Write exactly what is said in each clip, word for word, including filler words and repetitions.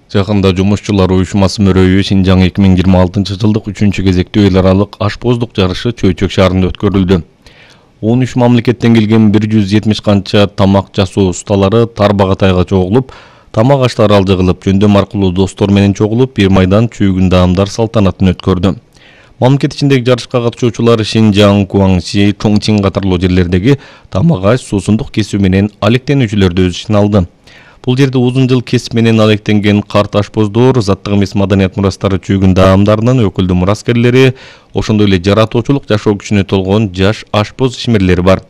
Жакында жумушчулар уюшмасы мөрөйү Шинжаң эки миң жыйырма алтынчы жылдык үчүнчү кезектүү эл аралык ашпоздук жарышы Чөйчөк шаарында өткөрүлдү. он үч мамлекеттен келген бир жүз жетимиш канча тамак жасоо усталары тарбагатайга чогулуп, тамак аштары алжыгылып, жөндөм аркылуу достор менен чогулуп, бир майдан чүйгүн даамдар салтанатын өткөрдү. Мамлекет ичиндеги жарышка катышуучулар Шинжаң, Гуаңши, Чоңчин катарлуу жерлердеги тамак аш, суусундук кесүү менен алектенүүчүлөрдү өз ичине алды. Бул жерде узун жыл кесип менен алектенген карт ашпоздор, заттык эмес маданият мурастары чүйгүн даамдарынын өкүлдүү мураскерлери, ошондой эле жаратуучулук жашоо күчүнө толгон жаш ашпоз ишмерлери бар.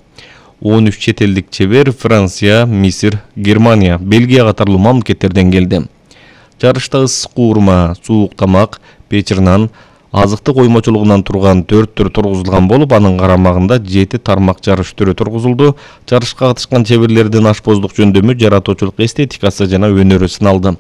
он үч чет элдик чебер Франция, Мисир, Германия, Бельгия катарлуу мамлекеттерден келди. Жарышта ысык куурма, суук тамак, печир нан, азыктык оймочулугунан турган төрт түр тургузулган болуп, анын карамагында жети тармак жарыш түрү тургузулду. Жарышка катышкан чеберлердин ашпоздук жөндөмү, жаратуучулук эстетикасы жана өнөрү сыналды.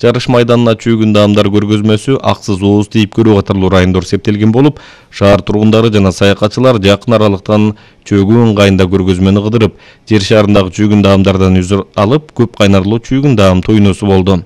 Жарыш майданына чүйгүн даамдар көргөзмөсү аксыз ооз тийип көрүү катарлуу райондор септелген болуп, шаар тургундары жана саякатчылар жакын аралыктан чөгүү ыңгайында көргөзмөнү кыдырып, жер шарындагы чүйгүн даамдардан үз алып, көп кайнарлуу чүйгүн даам тойносу болду.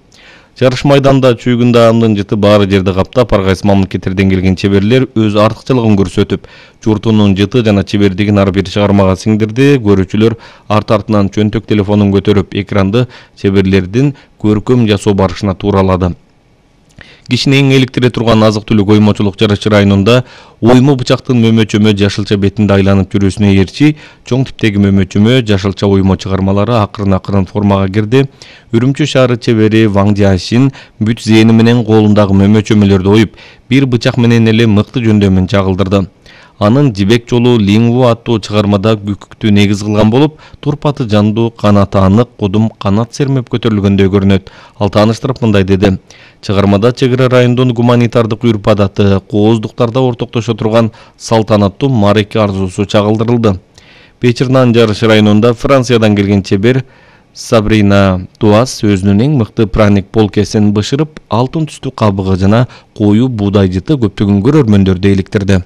Жарыш майданында чүйгүн даамдын жыты баары жерди каптап, ар кайсы мамлекеттерден келген чеберлер өз артыкчылыгын көрсөтүп, журтунун жыты жана чебердигин ар бир чыгармага сиңдирди. Көрүүчүлөр арт-артынан чөнтөк телефонун көтөрүп, экранды чеберлердин көркөм жасоо барышына тууралады. Кишини эң эликтире турган азык-түлүк оймочулук жарышы районунда ойму бычактын мөмөчөмө жашылча бетинде айланып жүрүүсүнө ээрчи, чоң типтеги мөмөчөмө жашылча оймо чыгармалары акырын-акырын формага кирди. Үрүмчү шаары чебери Ваң Жашин бүт зээни менен колундагы мөмөчөмөлөрдү оюп, бир бычак менен эле мыкты жөндөмүн чагылдырды. Анын Жибек жолу Лингу аттуу чыгармада күкүктү негиз кылган болуп, турпаты жандуу, канаты анык, кудум канат сермеп көтөрүлгөндөй көрүнөт. Ал тааныштырып мындай деди: чыгармада чек ара райондун гуманитардык үрп-адаты, кооздуктарда ортоктошо турган салтанаттуу маареке арзуусу чагылдырылды. Печир нан жарышы районунда Франциядан келген чебер Сабрина Туас өзүнүн эң мыкты праник полкесин бышырып, алтын түстүү кабыгы жана коюу буудай жыты көптөгөн көрөрмөндөрдү эликтирди.